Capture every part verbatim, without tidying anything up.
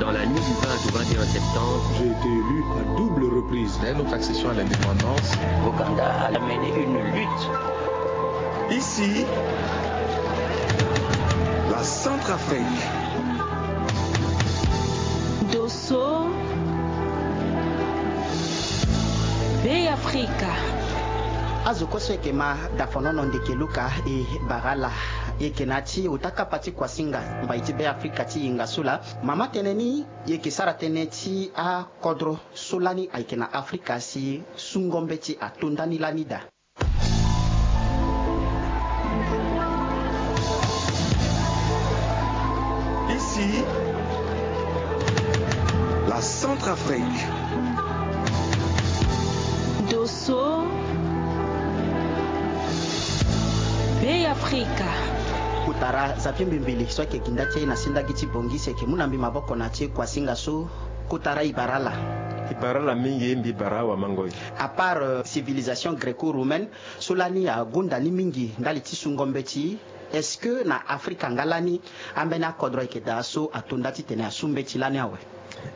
Dans la nuit du vingt au vingt et un septembre, j'ai été élu à double reprise. Dès notre accession à l'indépendance, Ouganda a mené une lutte. Ici, la Centrafrique. Dosso, Bê Afrika. Azo kue so eke ma dafonono ndeke luka e bara ala, eke na ya ti ota kapa ti kuasinga mbai ti Bê Afrika ti hinga so laa. Mama tene ni, e yeke sara tënë ti akodro so lani ayeke na Afrika si sungo mbeti ato ndani lani daa. Ici, la Centrafrique. Dosso, Bê Afrika. Kotara Xavier Mbembele so ayeke gi nda ti e na sendagi ti Bangui si ayeke mu na mbi maboko na ti kuasinga so. Kotara e bara ala. E bara ala mingi, mbi bara awamangoi. À part, euh, civilisation gréco-romaine so lani agonda ni mingi ndali ti sungo mbeti, est-ce que na Afrika nga lani ambeni akodro ayeke daa so ato nda titene asu mbeti lani awe?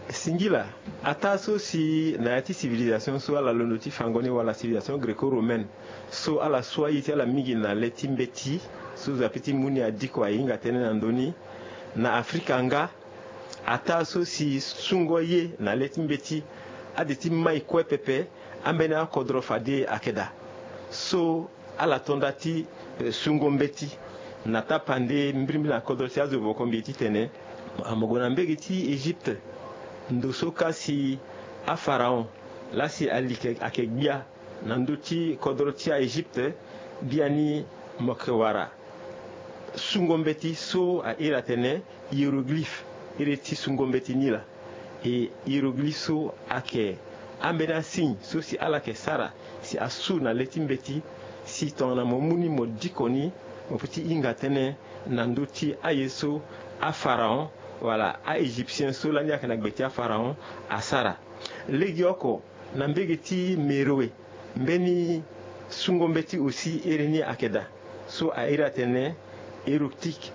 Singila, ataa so si na ya ti civilisation so ala londo ti fango ni wala civilisation gréco-romaine so ala su aye ti ala mingi na le ti mbeti so Zapi ti mu ni adiko ahinga tënë na ndö ni. Na Afrika nga, ataa so si sungo ye na le ti mbeti ade ti mai kue pepe, ambeni akodro fade ayeke daa so ala to nda ti, eh, sungo mbeti. Na tapande mbirimbiri na kodro ti azo voko mbi titene amogo na mbege ti Egypte, ndo so ka si apharaon laa si ali ayeke gbia na ndö ti kodro ti a-Egypte, biani mo yeke wara sungo mbeti so a iri atene hiéroglyphe, iri ti sungo mbeti ni laa. E hiéroglyphe so ayeke ambeni asigne so si ala yeke sara si asu na le ti mbeti, si tongana mo mu ni mo diko ni, mo peut ti hinga tënë na ndö ti aye so apharaon wala a-Égyptien so lani ayeke na gbe ti apharaon asara. Legeoko, na mbege ti Méroé, mbeni sungo mbeti aussi iri ni ayeke daa so a iri atene hiéroglyphique,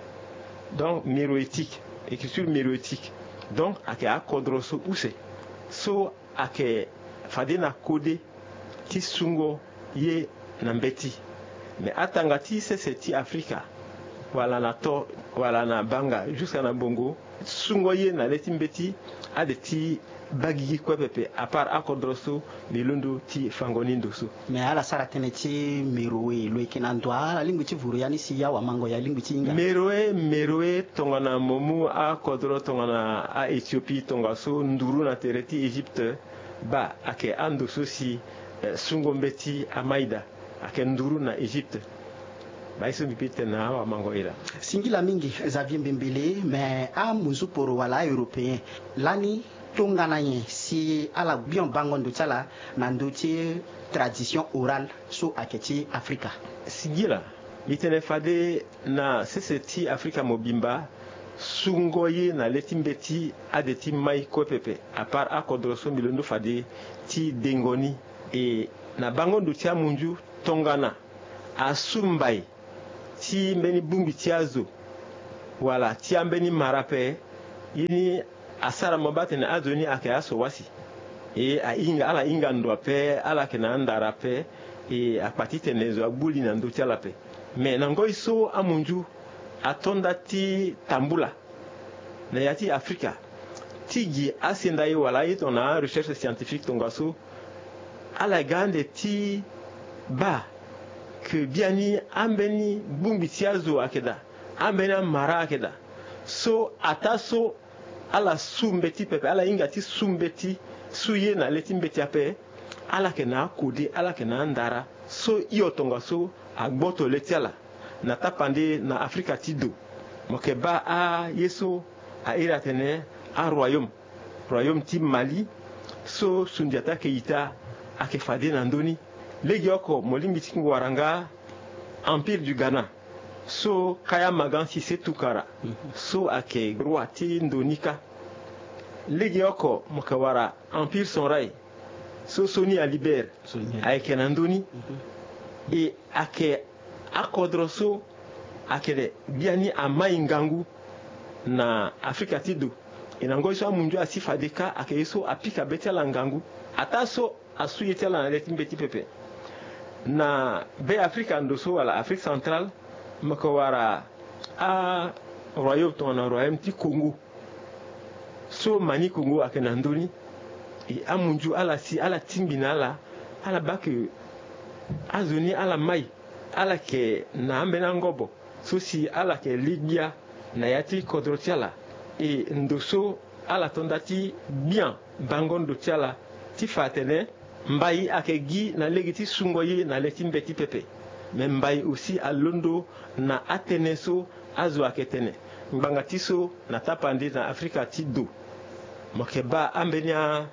donc méroïtique, écriture méroïtique. Donc ayeke akodro so use so ayeke fade na kode ti sungo ye na mbeti. Me atanga ti sese ti Afrika, wala na to, wala na banga, jusqu'à na bongo, sungo ye na le ti mbeti ade ti baa gigi kue pepe, à part akodro so mbi londo ti fango ni ndo so. Me ala sara tënë ti Méroé, lo yeke na ndo alingbi ti vuru ya ni si ya wamango ya lingbi ti hinga? Méroé, Méroé tongana mo mu akodro tongana a-Éthiopie tongaso nduru na tere ti Égypte, baa ayeke ando so si, eh, sungo mbeti amai daa. Ayeke nduru na Égypte. Baa ye so mbi peut tene na awamango e laa. Singila mingi Xavier Mbembele, me amunzu poro wala a-Européen lani tongana nyen si ala gbia bango ndo ti ala na ndö ti tradition orale so ayeke ti Afrika? Singila, mbi tene fade na sese ti Afrika mobimba, sungo ye na le ti mbeti ade ti mai kue pepe, à part akodro so mbi londo fade ti dengo ni. E na bango ndo ti amunzu, tongana asu mbai ti mbeni bongbi ti azo wala ti ambeni mara ape, ye ni asara mo baa atene azo ni ayeke aso wasi. E ahinga, ala hinga ndo ape, ala yeke na andara ape, e akpa titene zo agbu li na ndö ti ala ape. Me na ngoi so amunzu ato nda ti tambula na ya ti Afrika, ti gi asenda ye wala aye tongana arecherche scientifique tongaso, ala ga ande ti baa ke biani ambeni bongbi ti azo ayeke daa, ambeni amara ayeke daa. So ataa so ala su mbeti pepe, ala hinga ti su mbeti, su ye na le ti mbeti ape, ala yeke na akode, ala yeke na andara so hio tongaso agboto le ti ala. Na tapande na Afrika ti do, mo yeke baa aye so a iri atene aroyaume, royaume ti Mali, so sundiata ayeke ita ayeke fade na ndö ni. Legeoko mo lingbi ti wara nga Empire du Ghana, so Kaya Magan Sise Tukara, so ayeke roi ti ndo ni kâ. Legeoko mo yeke wara Empire Sonrai, so Soni Alibert ayeke na ndö ni. E ayeke akodro so ayeke biani amai ngangu na Afrika ti do. E na ngoi so amunzu asi fade kâ ayeke ye so apika be ti ala ngangu. Ataa so asu ye ti ala na le ti mbeti pepe. Na Be Afrika ndo so wala Afrique centrale, mo yeke wara aroyaume tongana royaume ti Congo. So Mani Congo ayeke na ndö ni. E amunzu ala si ala tingbi na ala, ala baa ke azo ni ala mai, ala yeke na ambeni angobo so si ala yeke li gbia na ya ti kodro ti ala. E ndo so ala to nda ti gbia bango ndo ti ala ti fa atene mbai ayeke gi na lege ti sungo ye na le ti mbeti pepe. Me mbai aussi alondo na atënë so azo ayeke tene. Ngbanga ti so na tapande na Afrika ti do, mo yeke baa ambeni a,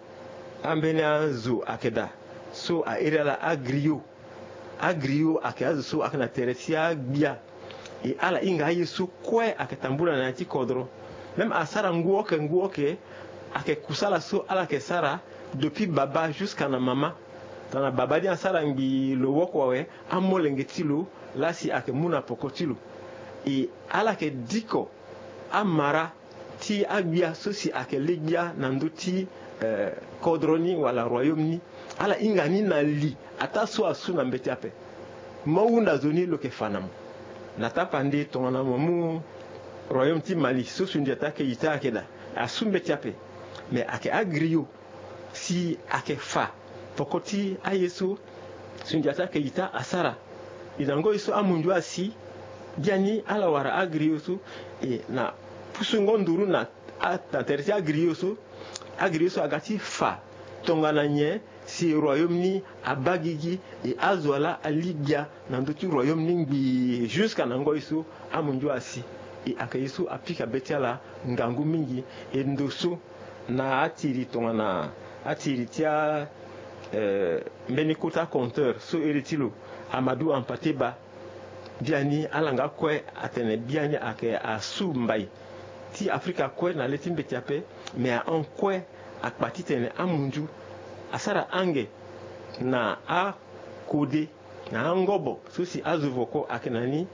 ambeni azo ayeke daa so a iri ala agriot. Agriot ayeke azo so ayeke na tere ti agbia. E ala hinga aye so kue ayeke tambula na ya ti kodro. Même asara ngu oke ngu oke, ayeke kusala so ala yeke sara depuis baba jusqu'à na mama. Tongana baba ni asara ngbii lo woko awe, amolenge ti lo laa si ayeke mu na poko ti lo. E ala yeke diko amara ti agbia so si ayeke li gbia na ndö ti, eh, kodro ni wala royaume ni. Ala hinga ni na li ataa so asu na mbeti ape. Mo hunda zo ni lo yeke fa na mo. Na tapande tongana mo mu royaume ti Mali so sundia ti akeyita ayeke daa, asu mbeti ape. Me ayeke agriot si ayeke fa poko ti aye so sundia ti akeyita asara. E na ngoi so amunzu asi, biani ala wara agriot so, e na pusungo nduru na a, na tere ti agriot so, agriot so aga ti fa tongana nyen si royaume ni abaa gigi, e azo ala ali gbia na ndö ti royaume ni ngbii jusqu'à na ngoi so amunzu asi. E ayeke ye so apika be ti ala ngangu mingi. E ndo so na atiri tongana atiri ti a, eh, mbeni kota compteur so iri ti lo Amadou Hampâté Bâ. Biani ala nga kue atene biani ayeke asu mbai ti Afrika kue na le ti mbeti ape. Me ahon kue akpa titene amunzu asara ange na akode na angobo so si azo voko ayeke na ni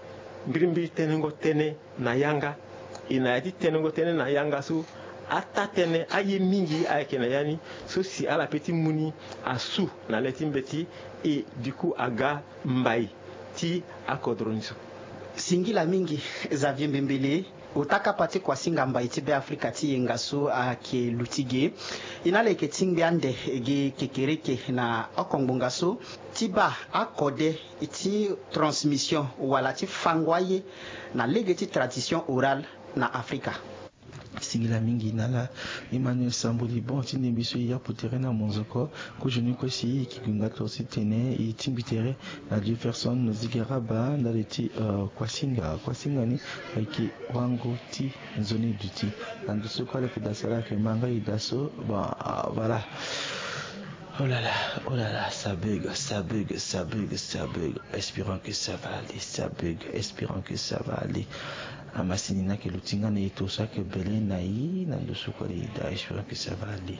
mbirimbiri tenengo tënë na yanga. E na ya ti tenengo tënë na yanga so, ataa tënë aye mingi ayeke na ya ni so si ala pe ti mu ni asu na le ti mbeti. E du coup aga mbai ti akodro ni so. Singila mingi Xavier Mbembele. Ota kapa ti kuasinga mbai ti Be Afrika ti yenga so ayeke luti ge. E na ala yeke tingbi ande ge kekereke na oko ngbonga so ti baa akode ti transmission wala ti fango aye na lege ti tradition orale na Afrika. Singila mingi na ala Emmanuel Sambuli. Bon, ti ndembe so e yapu tere na monzoko. Kozo ni kue si e yeke gue nga toro ti tene e tingbi tere na Jefferson Zigaraba ndali ti, euh, kuasinga. Kuasinga ni ayeke wango ti nzoni duti. Na ndo so kue ala yeke daa so ala yeke ma nga e daa so. Bon, euh, voilà. Oh là là, oh là là, ça bug, ça bug, ça bug, ça bug. Espérons que ça va aller, ça bug, espérons que ça va aller. Amasini ni ayeke luti nga na e to so ayeke bele na e na ndo so kue ala e daa, espérons que ça va aller.